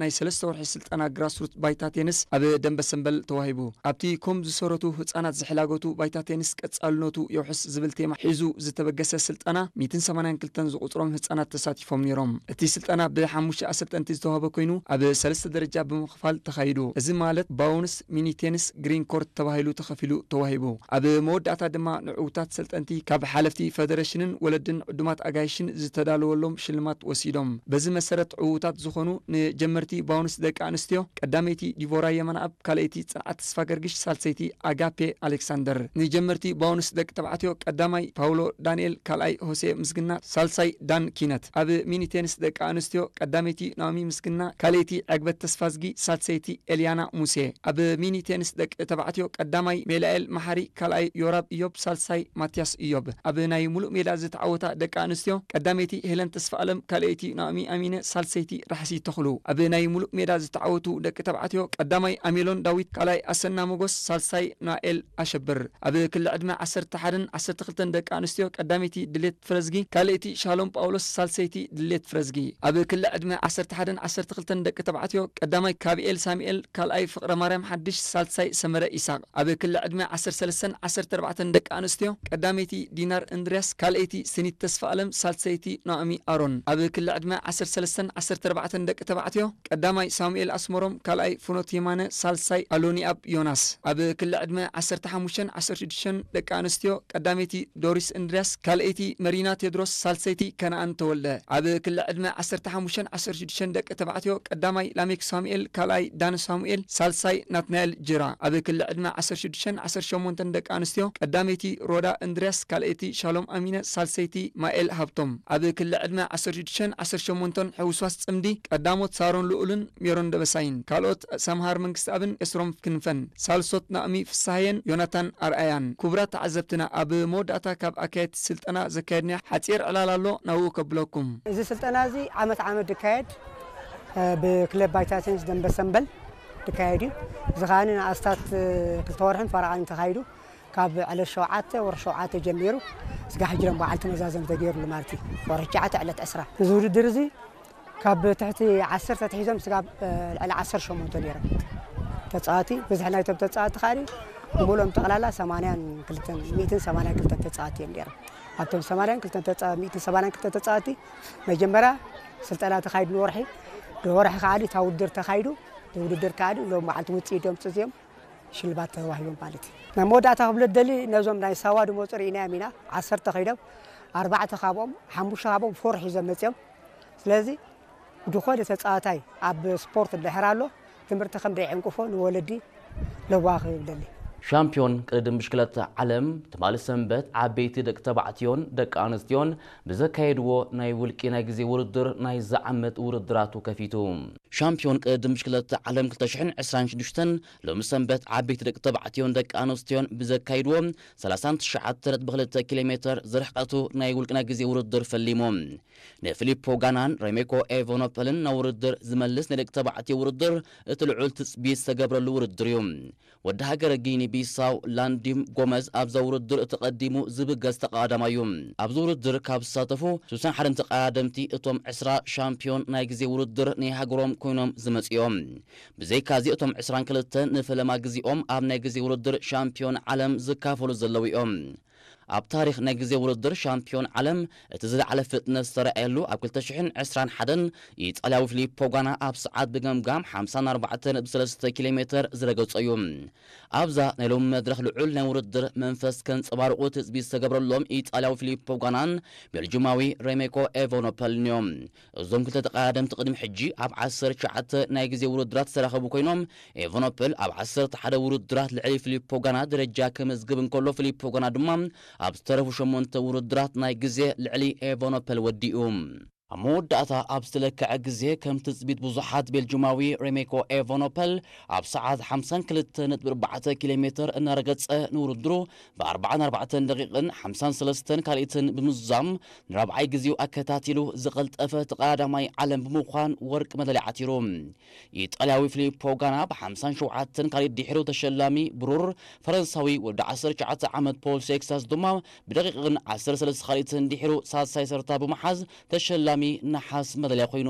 ናይ ሰለስተ ወርሒ ስልጠና ግራስሩት ባይታ ቴንስ ኣብ ደንበ ሰንበል ተዋሂቡ። ኣብቲ ኮም ዝሰረቱ ህጻናት ዝሕላገቱ ባይታ ቴንስ ቀጻልነቱ የውሕስ ዝብል ቴማ ሒዙ ዝተበገሰ ስልጠና ሚእትን ሰማንያን ክልተን ዝቑጽሮም ህጻናት ተሳቲፎም ነይሮም። እቲ ስልጠና ብሓሙሽተ ኣሰልጠንቲ ዝተዋህበ ኮይኑ ኣብ ሰለስተ ደረጃ ብምኽፋል ተኻይዱ። እዚ ማለት ባውንስ፣ ሚኒ ቴንስ፣ ግሪን ኮርት ተባሂሉ ተኸፊሉ ተዋሂቡ። ኣብ መወዳእታ ድማ ንዕዉታት ሰልጠንቲ ካብ ሓለፍቲ ፈደረሽንን ወለድን ዕዱማት ኣጋይሽን ዝተዳለወሎም ሽልማት ወሲዶም። በዚ መሰረት ዕዉታት ዝኾኑ ንጀመርቲ ባውንስ ደቂ ኣንስትዮ ቀዳመይቲ ዲቮራ የማነኣብ፣ ካልኣይቲ ጽንዓት ተስፋ ገርግሽ፣ ሳልሰይቲ ኣጋፔ ኣሌክሳንደር። ንጀመርቲ ባውንስ ደቂ ተባዕትዮ ቀዳማይ ፓውሎ ዳንኤል፣ ካልኣይ ሆሴ ምስግና፣ ሳልሳይ ዳን ኪነት። ኣብ ሚኒ ቴንስ ደቂ ኣንስትዮ ቀዳመይቲ ናኦሚ ምስግና፣ ካልኣይቲ ዕግበት ተስፋዝጊ፣ ሳልሰይቲ ኤልያና ሙሴ። ኣብ ሚኒ ቴንስ ደቂ ተባዕትዮ ቀዳማይ ሜላኤል መሓሪ፣ ካልኣይ ዮራብ እዮብ፣ ሳልሳይ ማትያስ እዮብ። ኣብ ናይ ሙሉእ ሜዳ ዝተዓወታ ደቂ ኣንስትዮ ቀዳመይቲ ሄለን ተስፋኣለም፣ ካልኣይቲ ናኦሚ ኣሚነ፣ ሳልሰይቲ ራሕሲ ተኽሉ። ኣብ ናይ ሙሉእ ሜዳ ዝተዓወቱ ደቂ ተባዕትዮ ቀዳማይ ኣሜሎን ዳዊት፣ ካልኣይ ኣሰና ሞጎስ፣ ሳልሳይ ናኤል ኣሸብር። ኣብ ክሊ ዕድመ ዓሰርተ ሓደን ዓሰርተ ክልተን ደቂ ኣንስትዮ ቀዳመይቲ ድሌት ፍረዝጊ፣ ካልኣይቲ ሻሎም ጳውሎስ፣ ሳልሰይቲ ድሌት ፍረዝጊ። ኣብ ክሊ ዕድመ ዓሰርተ ሓደን ዓሰርተ ክልተን ደቂ ተባዕትዮ ቀዳማይ ካቢኤል ሳሙኤል፣ ካልኣይ ፍቕረ ማርያም ሓድሽ፣ ሳልሳይ ሰመረ ኢሳቕ። ኣብ ክሊ ዕድመ ዓሰርተ ሰለስተን ዓሰርተ ኣርባዕተን ደቂ ኣንስትዮ ቀዳመይቲ ዲናር እንድርያስ፣ ካልኣይቲ ስኒት ተስፋ ኣለም፣ ሳልሰይቲ ናኦሚ ኣሮን። ኣብ ክሊ ዕድመ ዓሰርተ ሰለስተን ዓሰርተ ኣርባዕተን ደቂ ተባዕትዮ ቀዳማይ ሳሙኤል ኣስመሮም፣ ካልኣይ ፍኖት የማነ፣ ሳልሳይ ኣሎኒኣብ ዮናስ። ኣብ ክሊ ዕድመ ዓሰርተ ሓሙሽተን ዓሰርተ ሽዱሽተን ደቂ ኣንስትዮ ቀዳመይቲ ዶሪስ እንድርያስ፣ ካልኣይቲ መሪና ቴድሮስ፣ ሳልሰይቲ ከነኣን ተወልደ። ኣብ ክሊ ዕድመ ዓሰርተ ሓሙሽተን ዓሰርተ ሽዱሽተን ደቂ ተባዕትዮ ቀዳማይ ላሜክ ሳሙኤል፣ ካልኣይ ዳን ሳሙኤል፣ ሳልሳይ ናትናኤል ጅራ። ኣብ ክሊ ዕድመ ዓሰርተ ሽዱሽተን ዓሰርተ ሸሞንተን ደቂ ኣንስትዮ ቀዳመይቲ ሮዳ እንድርያስ፣ ካልኣይቲ ሻሎም ኣሚነ፣ ሳልሰይቲ ማኤል ሃብቶም። ኣብ ክሊ ዕድመ ዓሰርተ ሽዱሽተን ዓሰርተ ሸሞንተን ሕውስዋስ ጽምዲ ቀዳሞት ሳሮን ልኡልን ሜሮን ደበሳይን፣ ካልኦት ሰምሃር መንግስትኣብን ኤስሮም ክንፈን፣ ሳልሶት ናእሚ ፍስሃየን ዮናታን ኣርኣያን። ክቡራት ተዓዘብትና፣ ኣብ መወዳእታ ካብ ኣካየድቲ ስልጠና ዘካየድናዮ ሓጺር ዕላል ኣሎ፣ ናብኡ ከብለኩም። እዚ ስልጠና እዚ ዓመት ዓመት ዝካየድ፣ እ፣ ብክለብ ባይታ ቴንስ ደንበ ሰንበል ዝካየድ እዩ። እዚ ከኣ ንኣስታት፣ እ፣ ክልተ ወርሕን ፈረቓን ተኻይዱ። ካብ ዕለት ሸውዓተ ወርሒ ሸውዓተ ጀሚሩ ስጋብ ሕጂ ደሞ በዓል ተመዛዘም ተገይሩሉ ማለት እዩ። ወርሒ ትሽዓተ ዕለት ዕስራ። እዚ ውድድር እዚ ካብ ትሕቲ ዓሰርተ ኣትሒዞም ስጋብ፣ እ፣ ልዕሊ ዓሰርተ ሸሞንተ ነይሮም ተጻዋቲ። ብዝሒ ናይቶም ተጻዋቲ ከኣ ብምሉኦም ጠቕላላ ሰማንያን ክልተን፣ ሚእትን ሰማንያን ክልተን ተጻዋቲ እዮም ነይሮም። ኣብቶም ሰማንያን ክልተን ተጻ-፣ ሚእትን ሰማንያን ክልተን ተጻዋቲ መጀመርያ ስልጠና ተኻይዱ ንወርሒ፣ ንወርሒ ከኣ እታ ውድድር ተኻይዱ፣ ውድድር ከኣ ሎም በዓልቲ ውጽኢት እዮም ጽዝዮም ሽልማት ተዋሂቦም ማለት እዩ። ናይ መወዳእታ ክብሎ ደሊ ነዞም ናይ ሳዋ ድመፁ ርኢናዮም ኢና። ዓሰርተ ከይዶም ኣርባዕተ ካብኦም፣ ሓሙሽተ ካብኦም ፎር ሒዞም መፅዮም። ስለዚ ዝኾነ ተፃዋታይ ኣብ ስፖርት እንድሕር ኣሎ ትምህርቲ ከም ደይዕንቅፎ ንወለዲ ለዋኽ ይብለኒ። ሻምፒዮን ቅድድም ብሽክለታ ዓለም ትማሊ ሰንበት ዓበይቲ ደቂ ተባዕትዮን ደቂ ኣንስትዮን ብዘካየድዎ ናይ ውልቂ ናይ ግዜ ውድድር ናይዚ ዓመት ውድድራቱ ከፊቱ። ሻምፒዮን ቅድድም ብሽክለታ ዓለም ክልተ ሽሕን ዕስራን ሽዱሽተን ሎሚ ሰንበት ዓበይቲ ደቂ ተባዕትዮን ደቂ ኣንስትዮን ብዘካይድዎ ሰላሳን ትሽዓተ ነጥቢ ክልተ ኪሎ ሜትር ዝርሕቀቱ ናይ ውልቂ ናይ ግዜ ውድድር ፈሊሙ። ንፊሊፖ ጋናን ሬሜኮ ኤቨኖፐልን ናብ ውድድር ዝመልስ ናይ ደቂ ተባዕትዮ ውድድር እቲ ልዑል ትጽቢት ዝተገብረሉ ውድድር እዩ። ወዲ ሃገረ ጊኒ ቢሳው ላንዲም ጎመዝ ኣብዛ ውድድር እቲ ቀዲሙ ዝብገስ ተቐዳዳማይ እዩ። ኣብዚ ውድድር ካብ ዝሳተፉ ስሳን ሓደን ተቐዳደምቲ እቶም ዕስራ ሻምፒዮን ናይ ግዜ ውድድር ናይ ሃገሮም ኮይኖም ዝመጹ እዮም። ብዘይካዚ እቶም ዕስራን ክልተን ንፈለማ ግዜኦም ኣብ ናይ ግዜ ውድድር ሻምፒዮን ዓለም ዝካፈሉ ዘለዉ እዮም። ኣብ ታሪኽ ናይ ግዜ ውድድር ሻምፒዮን ዓለም እቲ ዝለዓለ ፍጥነት ዝተረኣየሉ ኣብ ክልተ ሽሕን ዕስራን ሓደን ኢጣልያዊ ፊሊፖ ጋና ኣብ ሰዓት ብገምጋም ሓምሳን ኣርባዕተን ነጥቢ ሰለስተ ኪሎ ሜትር ዝረገጾ እዩ። ኣብዛ ናይ ሎሚ መድረኽ ልዑል ናይ ውድድር መንፈስ ከንጸባርቑ ትጽቢት ዝተገብረሎም ኢጣልያዊ ፊሊፖ ጋናን ቤልጁማዊ ሬሜኮ ኤቨኖፐልን እዮም። እዞም ክልተ ተቐዳደምቲ ቅድሚ ሕጂ ኣብ ዓሰርተ ትሽዓተ ናይ ግዜ ውድድራት ዝተራኸቡ ኮይኖም፣ ኤቨኖፐል ኣብ ዓሰርተ ሓደ ውድድራት ልዕሊ ፊሊፖ ጋና ደረጃ ከመዝግብ እንከሎ፣ ፊሊፖ ጋና ድማ ኣብ ዝተረፉ ሸሞንተ ውድድራት ናይ ግዜ ልዕሊ ኤቨኖፐል ወዲኡ። ኣብ መወዳእታ ኣብ ዝተለክዐ ግዜ፣ ከም ትጽቢት ብዙሓት ቤልጁማዊ ሬሜኮ ኤቨኖፐል ኣብ ሰዓት ሓምሳን ክልተ ነጥቢ ኣርባዕተ ኪሎ ሜትር እናረገጸ ንውድድሩ ብኣርባዓን ኣርባዕተን ደቂቕን ሓምሳን ሰለስተን ካልኢትን ብምዝዛም ንራብዓይ ግዜኡ ኣከታቲሉ ዝቐልጠፈ ተቐዳዳማይ ዓለም ብምዃን ወርቂ መዳልያ ዓቲሩ። ኢጣልያዊ ፊሊፖ ጋና ብሓምሳን ሸውዓተን ካልኢት ድሒሩ ተሸላሚ ብሩር፣ ፈረንሳዊ ወዲ ዓሰርተ ትሽዓተ ዓመት ፖል ሴክሳስ ድማ ብደቂቕን ዓሰርተ ሰለስተ ካልኢትን ድሒሩ ሳልሳይ ተርታ ብምሓዝ ተሸላሚ ነሓስ መዳልያ ኮይኑ።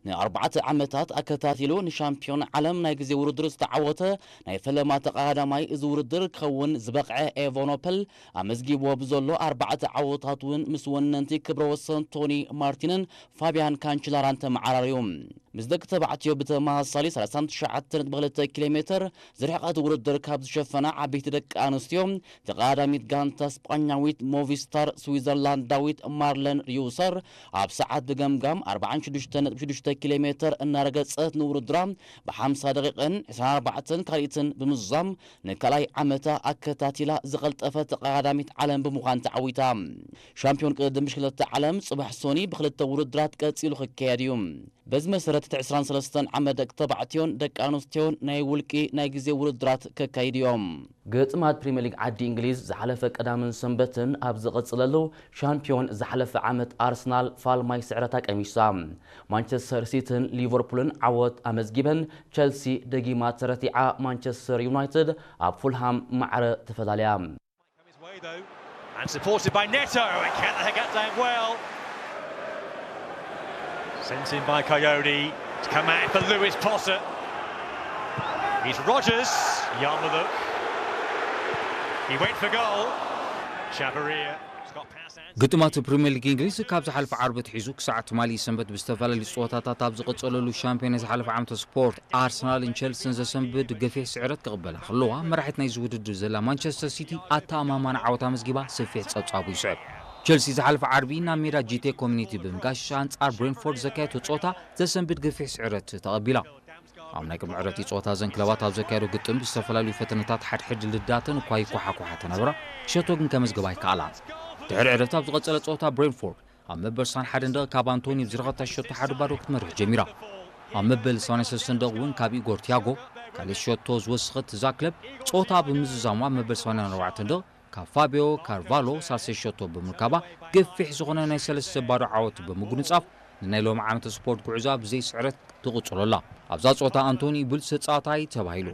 ንኣርባዕተ ዓመታት ኣከታቲሉ ንሻምፒዮን ዓለም ናይ ግዜ ውድድር ዝተዓወተ ናይ ፈለማ ተቐዳዳማይ እዚ ውድድር ክኸውን ዝበቕዐ ኤቮኖፐል ኣመዝጊብዎ ብዘሎ ኣርባዕተ ዓወታት እውን ምስ ወነንቲ ክብረ ወሰን ቶኒ ማርቲንን ፋቢያን ካንችላራን ተመዓራርዩ። ምስ ደቂ ተባዕትዮ ብተመሳሳሊ ሰላሳን ትሽዓተ ነጥቢ ክልተ ኪሎ ሜትር ዝርሕቐት ውድድር ካብ ዝሸፈና ዓበይቲ ደቂ ኣንስትዮ ተቐዳዳሚት ጋንታ ስጳኛዊት ሞቪስታር ስዊዘርላንዳዊት ማርለን ሪዩሰር ኣብ ሰዓት ብገምጋም ኣርባዓን ሽዱሽተ ነጥቢ ሽዱሽተ ኪሎ ሜትር እናረገጸት ንውድድራ ብሓምሳ ደቂቕን ዕስራን ኣርባዕተን ካልኢትን ብምዝዛም ንካልኣይ ዓመታ ኣከታቲላ ዝቐልጠፈት ተቐዳዳሚት ዓለም ብምዃን ተዓዊታ። ሻምፒዮን ቅድድም ብሽክለታ ዓለም ጽባሕ ሶኒ ብክልተ ውድድራት ቀጺሉ ክካየድ እዩ። በዚ መሰረት እቲ ዕስራን ሰለስተን ዓመት ደቂ ተባዕትዮን ደቂ ኣንስትዮን ናይ ውልቂ ናይ ግዜ ውድድራት ከካይዱ እዮም። ግጥማት ፕሪምየር ሊግ ዓዲ እንግሊዝ ዝሓለፈ ቀዳምን ሰንበትን ኣብ ዝቐጽለሉ ሻምፒዮን ዝሓለፈ ዓመት ኣርሰናል ፋልማይ ስዕረታ ቀሚሳ። ማንቸስተር ሲቲን ሊቨርፑልን ዓወት ኣመዝጊበን፣ ቸልሲ ደጊማ ተረቲዓ፣ ማንቸስተር ዩናይትድ ኣብ ፉልሃም ማዕረ ተፈላለያ። His way though, and supported by Neto, and can the head that down well? Sent in by Coyote. It's come out for Lewis Potter. He's Rodgers. Yarmuluk. He went for goal. Chavarria. It's got past Anthony. ግጥማት ፕሪምየር ሊግ እንግሊዝ ካብ ዝሓለፈ ዓርቢ ኣትሒዙ ክሳዕ ትማሊ ሰንበት ብዝተፈላለዩ ፀወታታት ኣብ ዝቐፀለሉ ሻምፒዮን ናይ ዝሓለፈ ዓመት ስፖርት ኣርሰናልን ቸልሲን ዘሰንብድ ገፊሕ ስዕረት ክቕበላ ከለዋ፣ መራሒት ናይዚ ውድድር ዘላ ማንቸስተር ሲቲ ኣተኣማማኒ ዓወት ኣመዝጊባ ሰፊሕ ጸብጻቡ ይስዕብ። ቸልሲ ዝሓለፈ ዓርቢ ናብ ሜዳ ጂቴ ኮሚኒቲ ብምጋሽ ኣንጻር ብሬንፎርድ ዘካየቶ ጸወታ ዘሰንብድ ገፊሕ ስዕረት ተቐቢላ። ኣብ ናይ ቅድሚ ዕረፍቲ ጸወታ እዘን ክለባት ኣብ ዘካየዶ ግጥም ብዝተፈላለዩ ፈተነታት ሓድሕድ ልዳተን እኳ ይኳሓኳሓ ተነበራ፣ ሸቶ ግን ከመዝግባ ኣይከኣላን። ድሕሪ ዕረፍቲ ኣብ ዝቐጸለ ጸወታ ብሬንፎርድ ኣብ መበል ስሳን ሓደን ደቂቕ ካብ ኣንቶኒ ብዝረኸብታ ሸቶ ሓደ ባዶ ክትመርሕ ጀሚራ። ኣብ መበል ሰማንያን ሰለስተን ደቂቕ እውን ካብ ኢጎር ቲያጎ ካልእ ሸቶ ዝወሰኸት እዛ ክለብ ጸወታ ብምዝዛሙ ኣብ መበል ሰማንያን ኣርባዕተን ደቂቕ ካብ ፋቢዮ ካርቫሎ ሳልሳይ ሸቶ ብምርካባ ገፊሕ ዝኾነ ናይ ሰለስተ ባዶ ዓወት ብምጉንጻፍ ንናይ ሎሚ ዓመት ስፖርት ጉዕዞ ብዘይ ስዕረት ትቕጽሎ ኣላ። ኣብዛ ጸወታ ኣንቶኒ ብሉጽ ተጻዋታይ ተባሂሉ።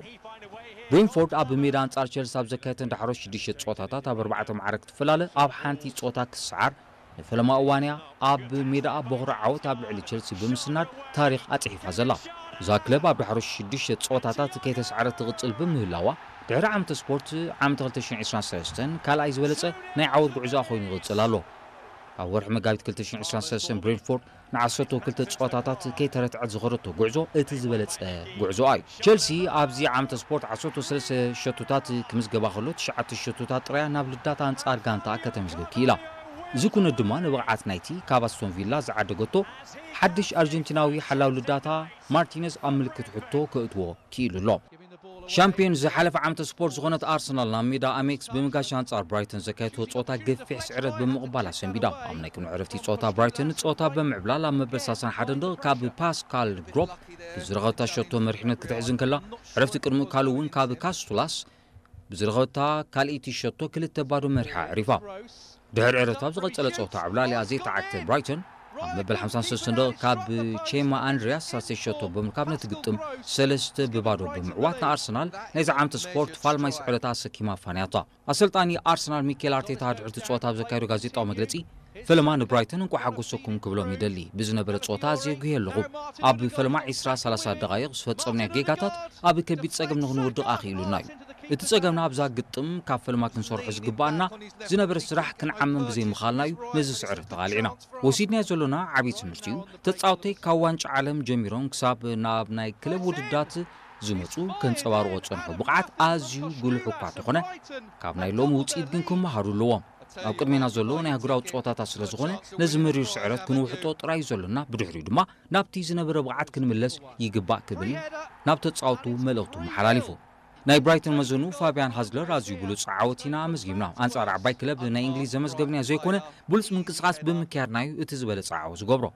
ብሬንፎርድ ኣብ ሜዳ ኣንጻር ቸልሲ ኣብ ዘካየተን ዳሕሮት ሽዱሽተ ጸወታታት ኣብ ኣርባዕተ ማዕረ ክትፈላለ ኣብ ሓንቲ ጸወታ ክሰዓር ንፈለማ እዋንያ ኣብ ሜዳኣ በኹሪ ዓወት ኣብ ልዕሊ ቸልሲ ብምስናድ ታሪኽ ኣጽሒፋ ዘላ። እዛ ክለብ ኣብ ዳሕሮት ሽዱሽተ ጸወታታት ከይተሰዓረት ትቕጽል ብምህላዋ ድሕሪ ዓመተ ስፖርት ዓመተ ክልተ ሽሕን ዕስራን ሰለስተን ካልኣይ ዝበለጸ ናይ ዓወት ጉዕዞኣ ኮይኑ ይቕጽል ኣሎ። ኣብ ወርሒ መጋቢት ክልተ ሽሕን ዕስራን ሰለስተን ብሬንፎርድ ንዓሰርተ ክልተ ጸወታታት ከይተረትዐት ዝኸደቶ ጉዕዞ እቲ ዝበለጸ ጉዕዞ እዩ። ቸልሲ ኣብዚ ዓመተ ስፖርት ዓሰርተ ሰለስተ ሸቶታት ክምዝገባ ከሎ ትሽዓተ ሸቶታት ጥራያ ናብ ልዳት ኣንጻር ጋንታ ከተመዝግብ ክኢላ። እዚ ኩነት ድማ ንብቕዓት ናይቲ ካብ ኣስቶን ቪላ ዝዓደገቶ ሓድሽ ኣርጀንቲናዊ ሓላው ልዳታ ማርቲነዝ ኣብ ምልክት ሕቶ ከእትዎ ክኢሉ ኣሎ። ሻምፒዮን ዝሓለፈ ዓመተ ስፖርት ዝኾነት ኣርሰናል ናብ ሜዳ ኣሜክስ ብምጋሽ ኣንጻር ብራይተን ዘካየድቶ ጸወታ ገፊሕ ስዕረት ብምቕባል ኣሰንቢዳ። ኣብ ናይ ቅድሚ ዕረፍቲ ጸወታ ብራይተን ጸወታ ብምዕብላል ኣብ መበል ሰላሳን ሓደን ደቂቕ ካብ ፓስካል ግሮፕ ብዝረኸብታ ሸቶ መሪሕነት ክትሕዝ እንከላ ዕረፍቲ ቅድሚ ካልእ እውን ካብ ካስቱላስ ብዝረኸብታ ካልኣይቲ ሸቶ ክልተ ባዶ መሪሓ ኣዕሪፋ። ድሕሪ ዕረፍቲ ኣብ ዝቐጸለ ጸወታ ዕብላሊኣ ዘይተዓግተ ብራይተን ኣብ መበል ሓምሳን ሰለስተን ደቂቕ ካብ ቼማ ኣንድሪያስ ሳልሳይ ሸቶ ብምርካብ ነቲ ግጥም ሰለስተ ብባዶ ብምዕዋት ንኣርሰናል ናይዚ ዓመት ስፖርት ፋልማይ ስዕረታ ኣሰኪማ ኣፋንያታ። ኣሰልጣኒ ኣርሰናል ሚኬል ኣርቴታ ድሕሪ እቲ ጸወታ ኣብ ዘካየዶ ጋዜጣዊ መግለጺ ፈለማ ንብራይተን እንቋዕ ሓጎሰኩም ክብሎም ይደሊ። ብዝነበረ ጸወታ ኣዝየ ጉህየ ኣለኹ። ኣብ ፈለማ ዒስራ ሰላሳ ደቓይቕ ዝፈጸምናዮ ጌጋታት ኣብ ከቢድ ጸገም ንኽንወድቕ ኣኽኢሉና እዩ። እቲ ጸገምና ኣብዛ ግጥም ካብ ፈለማ ክንሰርሖ ዝግብኣና ዝነበረ ስራሕ ክንዓምም ብዘይምኽኣልና እዩ ነዚ ስዕረት ተቓሊዕና። ወሲድናዮ ዘሎና ዓብዪ ትምህርቲ እዩ። ተጻወተይ ካብ ዋንጫ ዓለም ጀሚሮም ክሳብ ናብ ናይ ክለብ ውድድራት ዝመጹ ከንጸባርቖ ዝጸንሑ ብቕዓት ኣዝዩ ጉሉሕ እኳ እንተኾነ፣ ካብ ናይ ሎሚ ውጽኢት ግን ክመሃሩ ኣለዎም። ኣብ ቅድሜና ዘሎ ናይ ኣህጉራዊ ጸወታታት ስለ ዝኾነ፣ ነዚ መሪር ስዕረት ክንውሕጦ ጥራይ እዩ ዘሎና፣ ብድሕሪኡ ድማ ናብቲ ዝነበረ ብቕዓት ክንምለስ ይግባእ ክብል ናብ ተጻወቱ መልእኽቱ መሓላሊፉ። ናይ ብራይተን መዘኑ ፋብያን ሃዝለር ኣዝዩ ብሉጽ ዓወት ኢና ኣመዝጊብና። ኣንጻር ዓባይ ክለብ ናይ እንግሊዝ ዘመዝገብናዮ ዘይኮነ፣ ብሉጽ ምንቅስቓስ ብምክያድና እዩ እቲ ዝበለጸ ዓወት ዝገብሮ።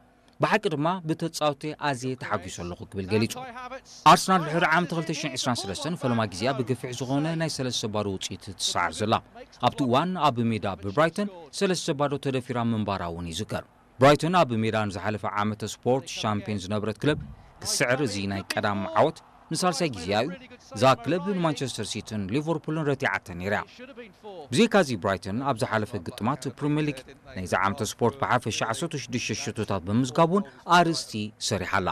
ብሓቂ ድማ ብተጻወቲ ኣዝየ ተሓጒሰ ኣለኹ ክብል ገሊጹ። ኣርሰናል ድሕሪ ዓመት ክልተ ሽሕን ዕስራን ሰለስተን ፈለማ ግዜኣ ብገፊሕ ዝኾነ ናይ ሰለስተ ባዶ ውጽኢት ትሰዓር ዘላ። ኣብቲ እዋን ኣብ ሜዳ ብብራይተን ሰለስተ ባዶ ተደፊራ ምንባራ እውን ይዝከር። ብራይተን ኣብ ሜዳ ንዝሓለፈ ዓመተ ስፖርት ሻምፒዮን ዝነበረት ክለብ ክስዕር እዚ ናይ ቀዳም ዓወት ንሳልሳይ ግዜኣ እዩ እዛ ክለብ ንማንቸስተር ሲቲን ሊቨርፑልን ረቲዓተን ነይራ። ብዘይካዚ ብራይተን ኣብ ዝሓለፈ ግጥማት ፕሪምየር ሊግ ናይዚ ዓመተ ስፖርት ብሓፈሻ ዓሰርተ ሽዱሽተ ሸቶታት ብምዝጋብ እውን ኣርእስቲ ሰሪሓ ኣላ።